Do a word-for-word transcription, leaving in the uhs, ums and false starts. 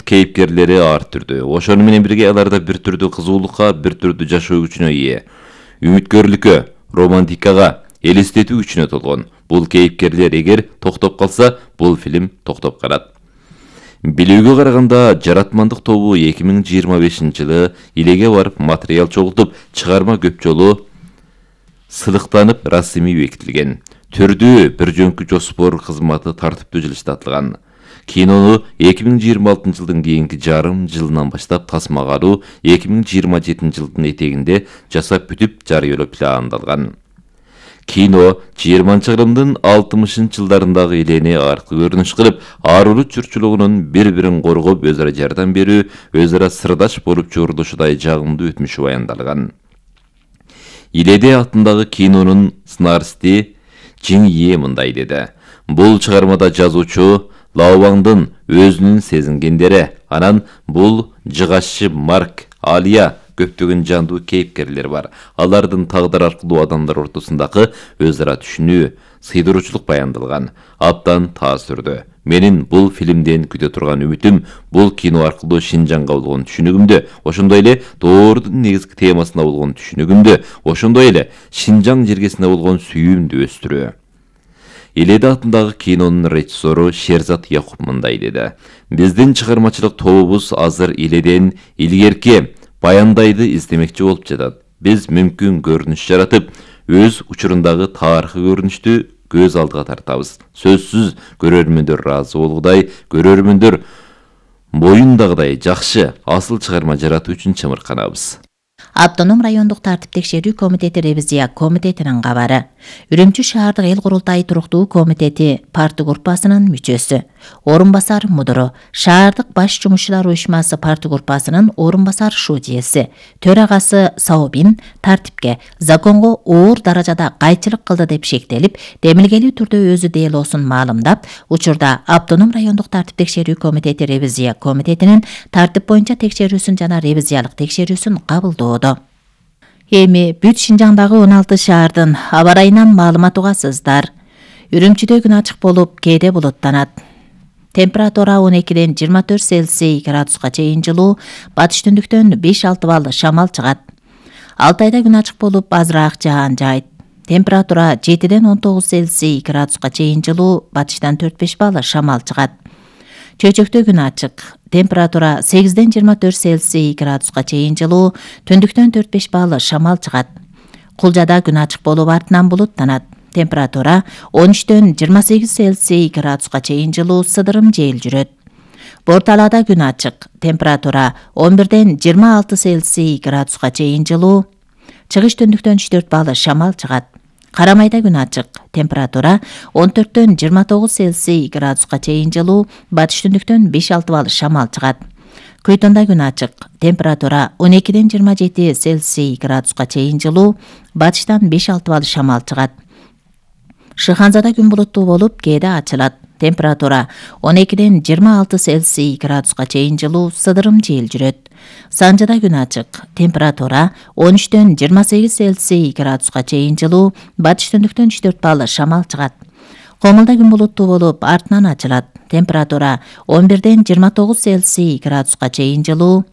кейипкерлери ар түрдүү. Ошону менен бирге аларда бир түрдүү кызуулукка, бир түрдүү жашоо күчүнө ээ. Үмүткөрлүккө, романтикага, элестетүү күчүнө толгон. Бул кейипкерлер эгер токтоп калса, бул фильм токтоп калат. Билүүгө караганда, Жаратмандык тобу эки миң жыйырма бешинчи жылы Илеге барып материал чогултуп, чыгарма көп жолу сылыктанып, расмий бекитилген. Түрдүү бир жөнкү жоспор кызматы тартиптүү жылыштатылган. Кинону эки миң жыйырма алтынчы жылдын кийинки жарым жылынан баштап тасмага алуу эки миң жыйырма жетинчи жылдын этегинде жасап бүтүп жарыялоо пландалган. Кино жыйырманчы кылымдын алтымышынчы жылдарындагы элени аркы көрүнүш кылып, ар улут журтчулугунун бири-бирин коргоп, өз ара жардам берүү, өз ара сырдаш болуп журулушудай жагымдуу өтмүшү баяндалган. Иледе атындагы кинонун сценаристи Жиң Е мындай деди. Бул чыгармада жазуучу Лаобаңдын өзүнүн сезингендери, анан бул жыгашчы Марк, Алия көптөгөн жандуу кейипкерлер бар. Алардын тагдыр аркылуу адамдар ортосундагы өз ара түшүнүү, сыйдыруучулук баяндалган. Абдан таасирдүү. Менин бул фильмден күтө турган үмүтүм бул кино аркылуу Шинжаңга болгон түшүнүгүмдү, ошондой эле доордун негизги темасына болгон түшүнүгүмдү, ошондой эле Шинжаң жергесине болгон сүйүүмдү өстүрүү. Иледе атындагы кинонун режиссеру Шерзат Якуп мындай деди. Биздин чыгармачылык тобубуз азыр Иледен илгерки баяндайды издемекчи болуп жатат. Биз мүмкүн көрүнүш жаратып, өз учурундагы тарыхый көрүнүштү көз алдыга тартабыз. Сөзсүз көрөрмөндөр ыраазы болгудай, көрөрмөндөр боюндагыдай жакшы, асыл чыгарма жаратуу үчүн чымырканабыз. Автоном райондук тартип текшерүү комитети ревизия комитетинин кабары. Үрүмчү шаардык эл курултайы туруктуу комитети парты группасынын мүчөсү, орун басар мудуру, шаардык баш жумушчулар уюшмасы парты группасынын орун басар шудияси, төрагасы Саобин тартипке, законго оор даражада кайчылык кылды деп шектелип, демилгелүү түрдө өзү делосун маалымдап, учурда автоном райондук тартип текшерүү комитети ревизия комитетинин тартип боюнча текшерүүсүн жана ревизиялык текшерүүсүн кабылдоодо. Эми бүт Шинжаңдагы он алты шаардын аба ырайынан маалымат угасыздар. Үрүмчүдө күн ачык болуп, кээде булуттанат. Температура он экиден жыйырма төрт Цельсий градуска чейин жылуу, батыш түндүктөн беш алты балл шамал чыгат. Алтайда күн ачык болуп, азыраак жаан жайт. Температура жетиден он тогуз Цельсий градуска чейин жылуу, батыштан төрт беш балл шамал чыгат. Чөйчөктө күн ачык. Температура сегизден жыйырма төрт Цельсий градуска чейин жылуу, түндүктөн төрт беш балл шамал чыгат. Кулжада күн ачык болуп, артынан булуттанат. Температура он үчтөн жыйырма сегиз Цельсий градуска чейин жылуу, сыдырым жел жүрөт. Борталада күн ачык. Температура он бирден жыйырма алты Цельсий градуска чейин жылуу, чыгыш түндүктөн үч төрт балл шамал чыгат. Карамайда күн ачык. Температура он төрттөн жыйырма тогуз Цельсий градуска чейин жылуу, батыш түндүктөн беш алты балл шамал чыгат. Көйтөндө күн ачык. Температура он экиден жыйырма жети Цельсий градуска чейин жылуу, батыштан беш алты балл шамал чыгат. Шыханзада күн булуттуу болуп, кээде ачылат. Температура он экиден жыйырма алты Цельсий градуска чейин жылуу, сыдырым жел жүрөт. Санжада күн ачык. Температура он үчтөн жыйырма сегиз Цельсий градуска чейин жылуу, батыш түндүктөн үч төрт балл шамал чыгат. Комулда күн булуттуу болуп, артынан ачылат. Температура он бирден жыйырма тогуз Цельсий градуска чейин жылуу,